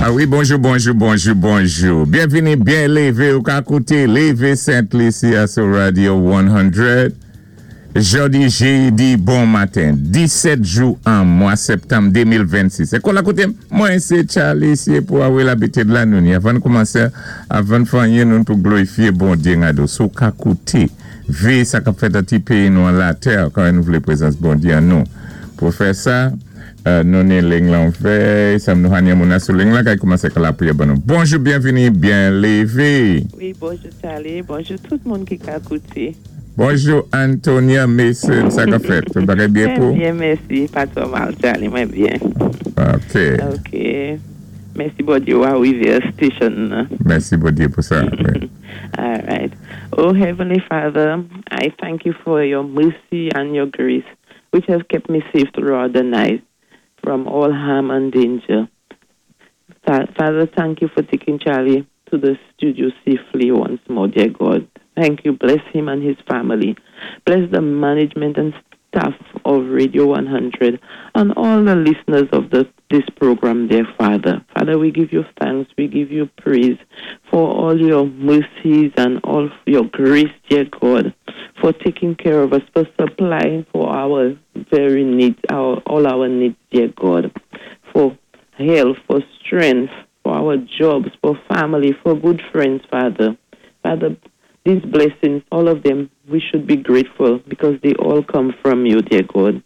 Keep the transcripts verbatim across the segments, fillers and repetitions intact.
A wi, bonjou, bonjou, bonjou, bonjou. Byenvini, byen lévé ou ka kouté Lévé Sent Lisi sou Radio san. Jòdi, jédi, bon maten, disèt jou an mwa septanm de mil vennsis. É kon la kouté, mwen sé Charlie, sé pou awe labitid la nou ni. Avan koumansé, avan fè anyen nou pou glorifié Bondyé ngado. Sou ka kouté, vé sa ka fèt a ti péyi nou an latè, kan nou vlé prézans Bondyé an nou. Pou fè sa, euh, nou ni ling lan fè, sa nou hanyen moun sou ling lan, kay koumansé ka lapriyè ban nou. Bonjou, byenvini, byen lévé. Wi, bonjou Charlie, bonjou tout moun ki ka kouté. Bonjou Antonia Mason, sa ka fèt? Tout bagay byen pou? Byen, mèsi. Pa twò mal, Charlie, mwen byen. Ok. Ok. Mèsi Bondyé ou arivé station. Mèsi Bondyé pou sa. Wi. All right. Oh, Heavenly Father, I thank you for your mercy and your grace, which have kept me safe throughout the night from all harm and danger. Fa- Father, thank you for taking Charlie to the studio safely once more, dear God. Thank you. Bless him and his family. Bless the management and staff of Radio one hundred and all the listeners of the, this program, dear Father. Father, we give you thanks. We give you praise for all your mercies and all your grace, dear God, for taking care of us, for supplying for our very needs, our, all our needs, dear God, for health, for strength, for our jobs, for family, for good friends, Father. Father, these blessings, all of them, we should be grateful because they all come from you, dear God.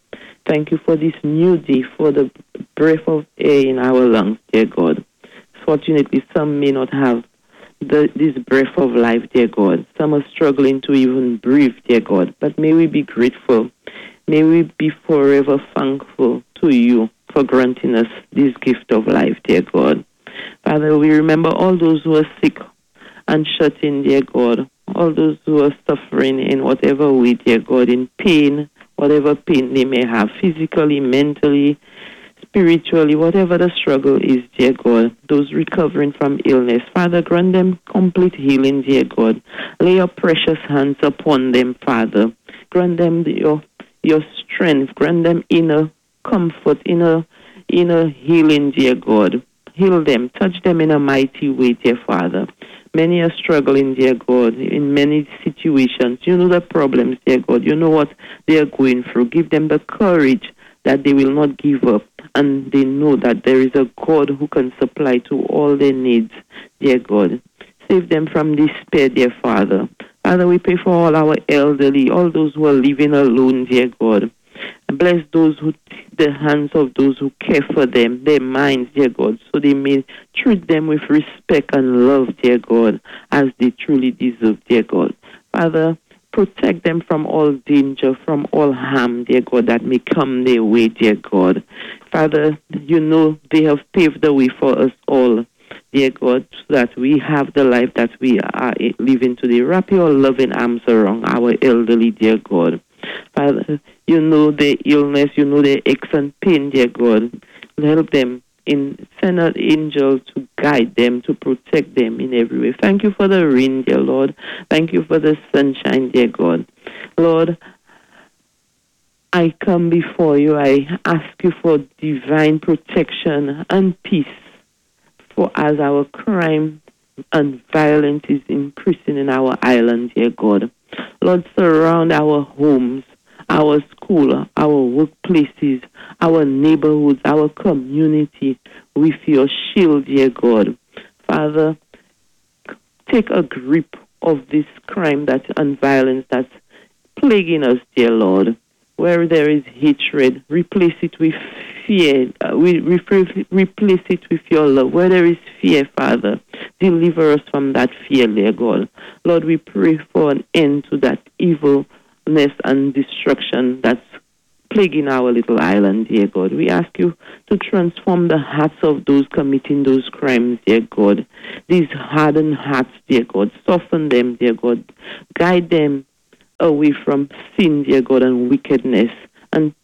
Thank you for this new day, for the breath of air in our lungs, dear God. Fortunately, some may not have the, this breath of life, dear God. Some are struggling to even breathe, dear God. But may we be grateful. May we be forever thankful to you for granting us this gift of life, dear God. Father, we remember all those who are sick and shut in, dear God. All those who are suffering in whatever way, dear God, in pain, whatever pain they may have, physically, mentally, spiritually, whatever the struggle is, dear God, those recovering from illness. Father, grant them complete healing, dear God. Lay your precious hands upon them, Father. Grant them your, your strength. Grant them inner comfort, inner, inner healing, dear God. Heal them. Touch them in a mighty way, dear Father. Many are struggling, dear God, in many situations. You know the problems, dear God. You know what they are going through. Give them the courage that they will not give up and they know that there is a God who can supply to all their needs, dear God. Save them from despair, dear Father. Father, we pray for all our elderly, all those who are living alone, dear God. And bless those who, the hands of those who care for them, their minds, dear God, so they may treat them with respect and love, dear God, as they truly deserve, dear God. Father, protect them from all danger, from all harm, dear God, that may come their way, dear God. Father, you know they have paved the way for us all, dear God, so that we have the life that we are living today. Wrap your loving arms around our elderly, dear God. Father, you know their illness, you know their aches and pain, dear God. Help them in send an angel to guide them, to protect them in every way. Thank you for the rain, dear Lord. Thank you for the sunshine, dear God. Lord, I come before you. I ask you for divine protection and peace for as our crime and violence is increasing in our island, dear God. Lord, surround our homes, our school, our workplaces, our neighborhoods, our community with your shield, dear God. Father, take a grip of this crime that and violence that's plaguing us, dear Lord. Where there is hatred, replace it with fear. Uh, we replace it with your love. Where there is fear, Father, deliver us from that fear, dear God. Lord, we pray for an end to that evilness and destruction that's plaguing our little island, dear God. We ask you to transform the hearts of those committing those crimes, dear God. These hardened hearts, dear God. Soften them, dear God. Guide them away from sin, dear God, and wickedness, and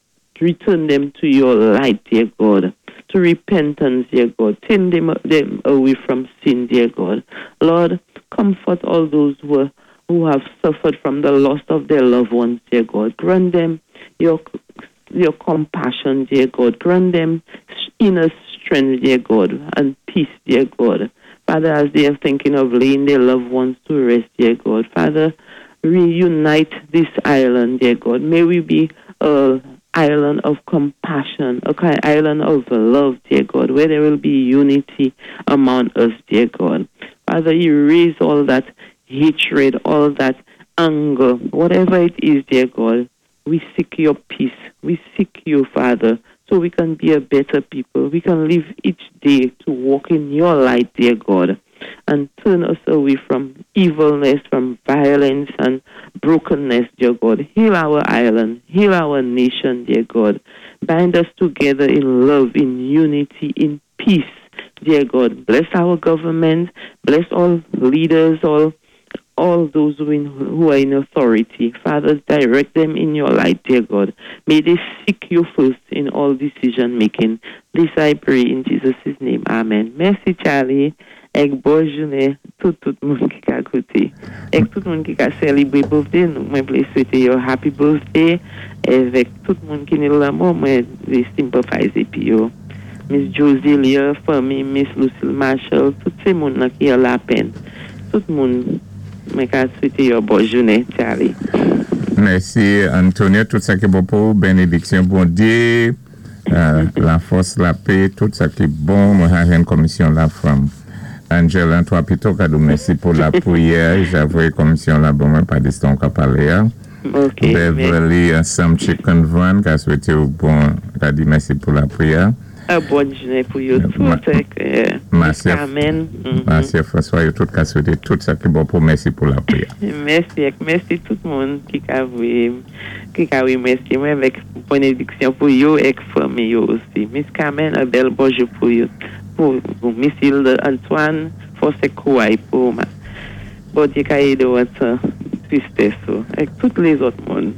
return them to your light, dear God, to repentance, dear God. Turn them, them away from sin, dear God. Lord, comfort all those who, are, who have suffered from the loss of their loved ones, dear God. Grant them your, your compassion, dear God. Grant them inner strength. strength, dear God, and peace, dear God. Father, as they are thinking of laying their loved ones to rest, dear God. Father, reunite this island, dear God. May we be a island of compassion, a kind island of love, dear God, where there will be unity among us, dear God. Father, erase all that hatred, all that anger, whatever it is, dear God. We seek your peace. We seek you, Father, so we can be a better people. We can live each day to walk in your light, dear God, and turn us away from evilness, from violence and brokenness, dear God. Heal our island, heal our nation, dear God. Bind us together in love, in unity, in peace, dear God. Bless our government, bless all leaders, all all those who, in, who are in authority. Father, direct them in your light, dear God. May they seek you first in all decision making. This I pray in Jesus' name. Amen. Mèsi, Charlie. Èk bon jounen tout tout moun ki ka kouté. Èk tout moun ki ka sélébwé birthday, nou mwen vlé swété yo happy birthday. Avèk tout moun ki ni lanmò, mwen vlé sympathize pi yo. Miss Josie Lear, fanmi, Miss Lucille Marshall, tout sé moun nan ki an lapèn. Tout moun mwen ka swété yo bon jounen, Charlie. Mèsi, Antonia. Tout sa ki bon pou bénédiksyon Bondyé, euh, la fòs, lapè, tout sa ki bon. Mwen a yon komisyon la from Angela Antoine Pito ka di mèsi pou lapriyè. J'avoue komisyon la bon mwen pa diston ka palé ya. Ok. Beverly ansanm Chicken Van ka swété ou bon, ka di mèsi pou lapriyè. Un bon jounen pou yo tout. Ma- Èk, euh, Miss Marcia- Carmen. mhm. Marcia François, yo tout ka swété tout sa ki bon pou mèsi pou lapriyè. Mèsi, èk mèsi tout moun ki ka vwé, ki ka wémèsyé mwen avèk bénédiksyon pou yo èk fanmi yo osi. Miss Carmen, un bèl bonjou pou yo. Pou, pou Miss Hilda Antoine, fòs èk kouway pou ma. Bondyé ka édé ou an tan tristès ou. Èk tout lézòt moun.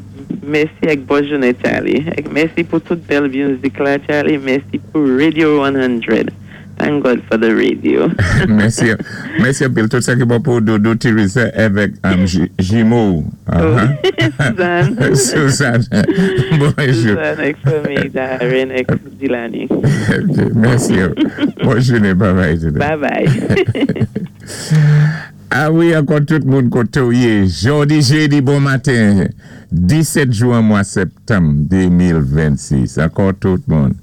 Mèsi èk bon jounen Charlie. Èk mèsi pou tout bèl mizik la Charlie. Mèsi pou Radio one hundred. Thank God for the radio. Mèsi, mèsi anpil. Tout sa ki bon pou Dodo Teresa avèk um, J- Jimo. Oh. Uh-huh. Suzanne. Suzanne. Bonjou. Suzanne èk fanmi Darren èk Dilani. Ok, mèsi. Bon jounen, bye bye. Bye bye. Ah wi, ankò tout moun koté ou yé. Jòdi jédi bon maten, disèt jwen mwa septanm de mil vennsis. Ankò tout moun.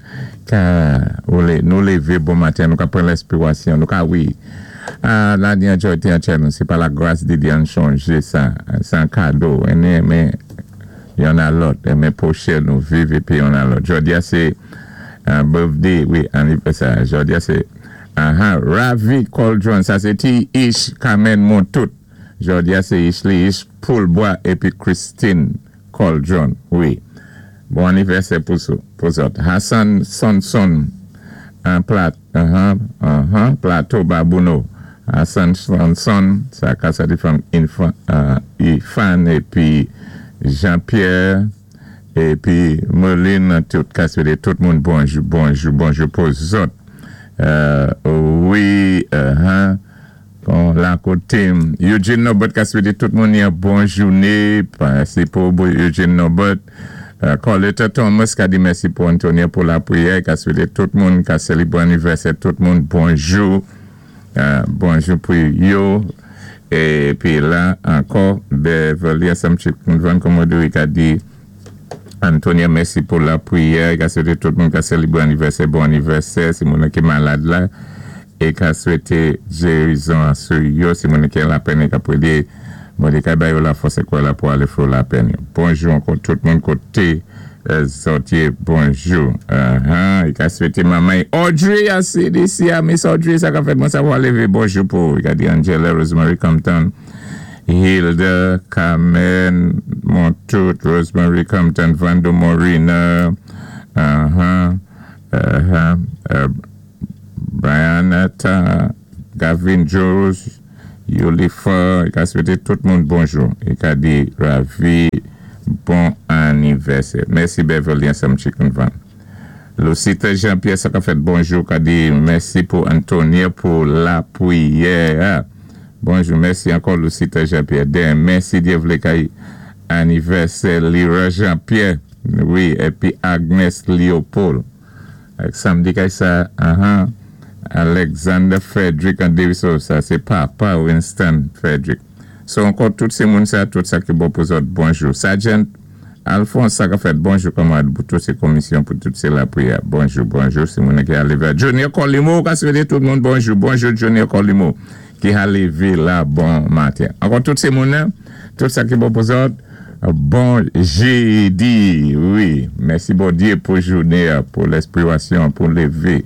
Ka, ou lé, nou lévé bon maten, nou ka pran lenspirasyon, nou ka wi. Ah, la di an jò te an chè nou, sé pa la gras di di an chanjé sa, sé an kado, ene, men, yon a lòt, e men pwochè nou viv épi yon a lòt. Jòdi a sé uh, birthday, wi, anivèsè. Jòdi a sé aha, Ravi Coldron, sa sé ti Ish Carmen Montout. Jòdi a sé Ishli Ish Poulbois épi Christine Coldron, wi. Bon anivèsè pou sou, pou zòt. Hassan Sonson, an plat, uh-huh, uh-huh, Plateau Babouno. Hassan Sonson, sa ka sa di from Infa, uh, Ifan épi Jean-Pierre, épi Merlin, tout ka swété tout moun bonjou, bonjou, bonjou pou zòt. Euh, wi, uh-huh. Bon, la koté, Eugene Norbert ka swété tout moun yon bon jounen, sé pou Eugene Norbert. Euh, Coletta Thomas ka di mèsi pou Antonia pou lapriyè, ka swété tout moun, ka sélébwé anivèsè tout moun, bonjou, euh, bonjou pou yo. Épi la, ankò, Beverly ansanm Chicken Van, kòm ka di, Antonia, mèsi pou lapriyè, ka swété tout moun ka sélébwé anivèsè, bon anivèsè, si moun ki malad la, é ka swété gérizon sou yo, si moun ki lapèn, ka pwédé, Bondye ka ba yo la fòs kwa la pou alé fò lapèn. Bonjou ankò tout moun koté euh, zòt yé, bonjou. Uh-huh. I ka swété manman Audrey a C D C a Miss Audrey, sa ka fèt mwen savwa lévé, bonjou pou. I ka di Angela, Rosemary Compton, Hilda, Carmen, Montout, Rosemary Compton, Vando Morina, uh-huh, uh-huh, uh, Brianetta, Gavin Jones, Yulifa, i ka swété tout moun bonjou. I ka di Ravi, bon anivèsè. Mèsi Beverly ansanm Chicken Van. Lucita Jean-Pierre, sa ka fèt bonjou, ka di mèsi pou Antonia pou lapriyè. Bonjou, mèsi ankò Lucita Jean-Pierre. Den, mèsi Dye vlé kay anivèsè Lira Jean-Pierre. Wi, épi Agnes Léopold. Samdi kay sa, uh-huh, Alexander Frederick and Davis, sa sé papa Winston Frederick. So ankò tout sé moun sa, tout sa ki bon pou zòt, bonjou. Sergeant Alphonse sa ka fèt, bonjou kanmarad pou tout sé komisyon, pou tout sé lapwiyè. Bonjou, bonjou, sé moun ki a lévé. Junior Colimo, ka swété tout moun bonjou. Bonjou Junior Colimo, ki a lévé la bon maten. Ankò tout sé moun, tout sa ki bon pou zòt, bon jédi, wi. Mèsi Bondyé pou jouné, pou lespirasyon, pou lévé.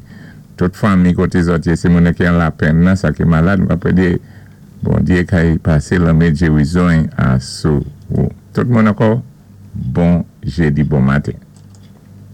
Tout fanmi koté zòt, sé moun ki an lapenn nan, sa ki malad, m ap di, Bondyé kay pasé lanmen gérizon asou. Tout moun ankò, bon jédi, bon maten.